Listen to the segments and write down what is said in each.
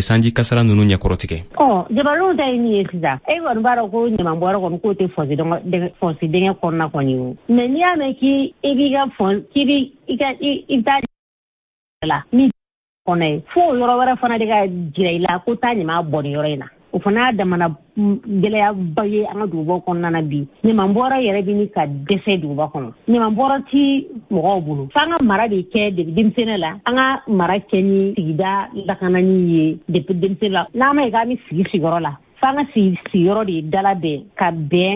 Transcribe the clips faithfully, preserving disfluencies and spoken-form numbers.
sanji kasara ninnu ɲɛkɔrɔtigɛ? Ɔ, jamanadenw ta ye min ye sisan, e kɔni b'a dɔn ko ɲamanbɔrɛ kɔni k'o tɛ fosse dingɛ kɔnɔna kɔni o. Mais n'i y'a mɛn k'i b'i ka fɔn k'i bi i ka i bɛ taa la min kɔnɔ ye, fo o yɔrɔ wɛrɛ fana de ka jira i la ko taa ɲaman bɔn nin yɔrɔ in na. O fana y'a damana gɛlɛyaba ye an ka duguba kɔnɔna na bi. Ɲamanbɔrɛ yɛrɛ bɛ ni ka dɛsɛ duguba kɔnɔ. Ɲamanbɔrɛ ti mɔgɔw bolo. F'an ka mara de kɛ depuis denmisɛnnin la, an ka mara kɛ ni sigida lakanani ye depuis denmisɛnnin la. N'an ma ye k'an bɛ sigi sigiyɔrɔ la, f'an ka sigiyɔrɔ de dalabɛn ka bɛn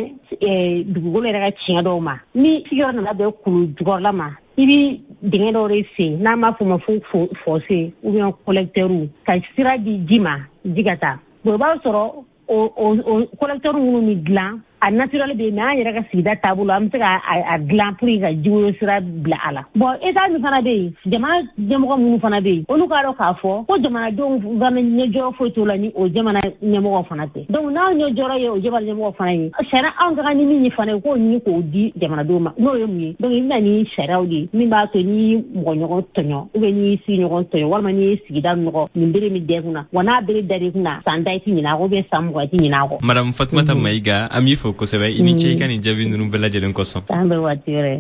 dugukolo yɛrɛ ka tiɲɛ dɔw ma. Ni sigiyɔrɔ nana bɛn kulu jukɔrɔla ma, i bi dingɛ dɔw de sen, n'an b'a fɔ o ma fo fossé ou bien collecteur, ka sira di ji ma, ji ka taa. Bon, i b'a sɔrɔ o o collecteur minnu bɛ dilan a naturel bɛ yen, mais an yɛrɛ ka sigida taabolo, an bɛ se ka a dilan pour que ka jiwoyo sira bila a la. Bon, état min fana bɛ yen, jamana ɲɛmɔgɔ minnu fana bɛ yen, olu k'a dɔn k'a fɔ ko jamanadenw fana ɲɛjɔyɔrɔ foyi t'o la ni o jamana ɲɛmɔgɔ fana tɛ. Donc n'anw ɲɛjɔyɔrɔ ye o jamana ɲɛmɔgɔ fana ye, sariya anw ka kan ni min ye fana ye, k'o ɲini k'o di jamanadenw ma. N'o ye mun ye? Donc i bɛ na ni sariyaw de ye min b'a to n'i ye mɔgɔ ɲɔgɔn tɔɲɔ, ou bien n'i y'i sigiɲɔgɔn tɔɲɔ, walima n'i ye sigida nɔgɔ, nin bere min da i kunna, wa n'a bere dar'i kunna, san tan i tɛ ɲinɛ a kɔ, ou bien san mugan i tɛ ɲinɛ a kɔ. Madame Fatumata Mayiga, an b'i fo kosɛbɛ. I ni ce i ka nin jaabi ninnu bɛɛ lajɛlen kosɔn. An bɛ waati wɛrɛ.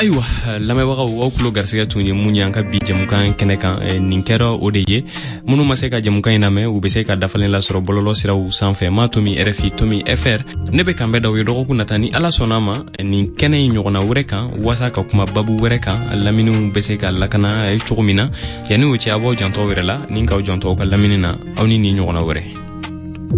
Ayiwa, lamɛnbagaw, aw tulo garisɛgɛ tun ye mun ye an ka bi jɛmukan kɛnɛ kan, nin kɛra o de ye. Minnu ma se ka jɛmukan in lamɛn, u bɛ se ka dafalen lasɔrɔ bɔlɔlɔ siraw sanfɛ, ma tomi R F I tomi F R. Ne bɛ kanbɛn d'aw ye dɔgɔkun nata, ni Ala sɔnna ma, nin kɛnɛ in ɲɔgɔnna wɛrɛ kan, waasa ka kuma babu wɛrɛ kan, laminiw bɛ se ka lakana cogo min na. Yanni o cɛ, a b'aw janto aw yɛrɛ la ni k'aw janto aw ka lamini na. Aw ni nin ɲɔgɔnna wɛrɛ.